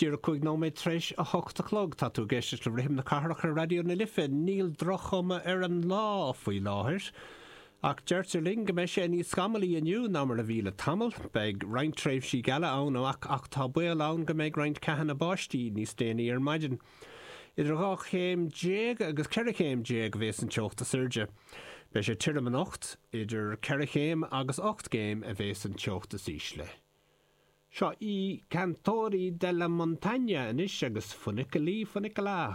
Díreach 5 nóiméad tar éis a hocht a chlog, tá tú ag éisteacht le Rithim na Cathrach ar Raidió na Life. Níl droch-chuma ar an lá faoi láthair, ach deirtear linn go mbeidh sé níos scamallaí inniu ná mar a bhí le tamall. Beidh roinnt tréimhsí geala ann ach ach tá baol ann go mbeidh roinnt ceathanna báistí níos déanaí ar maidin. Idir 12 chéim agus 14 chéim a bhéas an teocht is airde. Beidh sé tirim anocht, idir 4 chéim agus 8 gcéim a bhéas an teocht is ísle. Seo I Cantori della Montagna anois agus Funiculi Funicula.